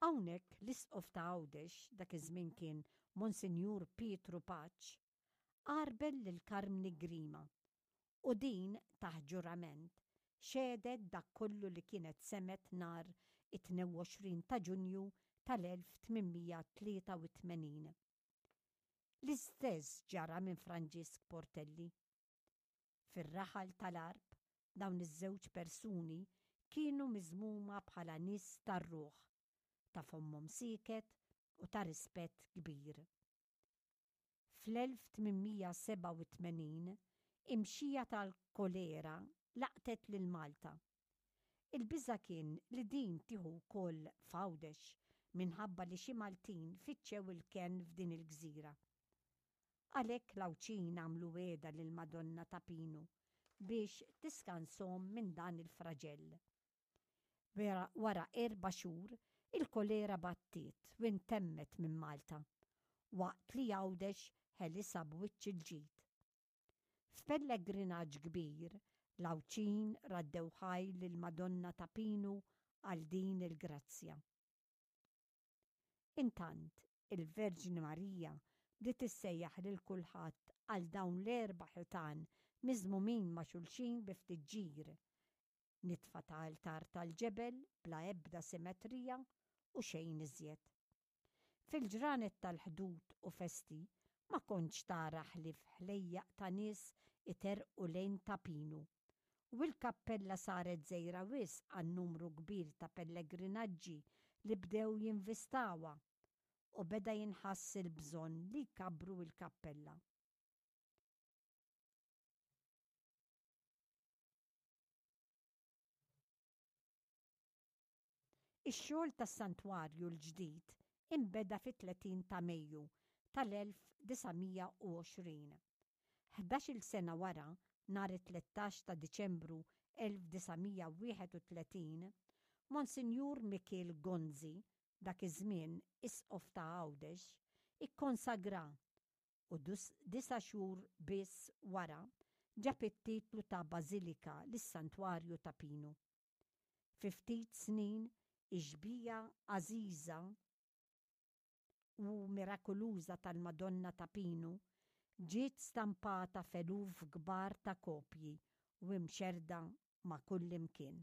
Hawnhekk l-Isqof ta' Għawdex, dak iż-żmien kien Monsinjur Pietru Paċ, għarbel lil Karmni Grima u din, taħt ġurament, xehdet dak kollu li kienet semgħet nhar it-22 ta' Ġunju tal-1883. L-istess ġara minn Franġisk Portelli. Fir-raħal tal-Għarb dawn iż-żewġ persuni kienu miżmuma bħala nies tar-ruħ, ta' fommhom sieket u ta' rispett kbir. Fl-1887 imxija tal-kolera laqtet lil Malta. Il-biża' kien li din tieħu wkoll f'Għawdex minħabba li xi Maltin fittxew il-kenn f'din il-gżira. Għalhekk l-Għawdxin għamlu wegħda lill-Madonna ta' Pinu biex tiskanshom minn dan il-fraġell. Wara erba' xhur, il-kolera battiet u intemmet minn Malta, waqt li Għawdex ħelisha b'wiċċ il-ġid. F'pellegrinaġġ kbir, l-Għawdxin raddew ħajr lill-Madonna ta' Pinu għal din il-grazzja. Intant, il-Verġni Marija bdiet issejjaħ lil kulħadd għal dawn l-erba' ħitan miżmumin ma' xulxin bi ftit ġir, nitfa ta' altar tal-ġebel bla ebda simetrija u xejn iżjed. Fil-ġranet tal-Ħdud u festi ma kontx tara ħlief ħlejjaq ta' nies iterrqu lejn Ta' Pinu u l-kappella saret żgħira wisq għan-numru kbir ta' pellegrinaġġi li bdew jinvistawha u beda jinħass il-bżonn li jkabbru l-kappella. Ix-xogħol tas-santwarju l-ġdid inbeda fit-30 ta' Mejju tal-1920. Ħdax-il sena wara, nhar it-tlettax ta' Diċembru 1931, Monsinjur Mikiel Gonzi, dak iż-żmien Isqof ta' Għawdex, ikkonsagra u disa' xhur biss wara ġab it-titlu ta' Bażilika lis-Santwarju ta' Pinu. Fi ftit snin ix-xbieha għażiża u mirakuluża tal-Madonna ta' Pinu ġiet stampata f'eluf kbar ta' kopji u imxerrda ma' kullimkien.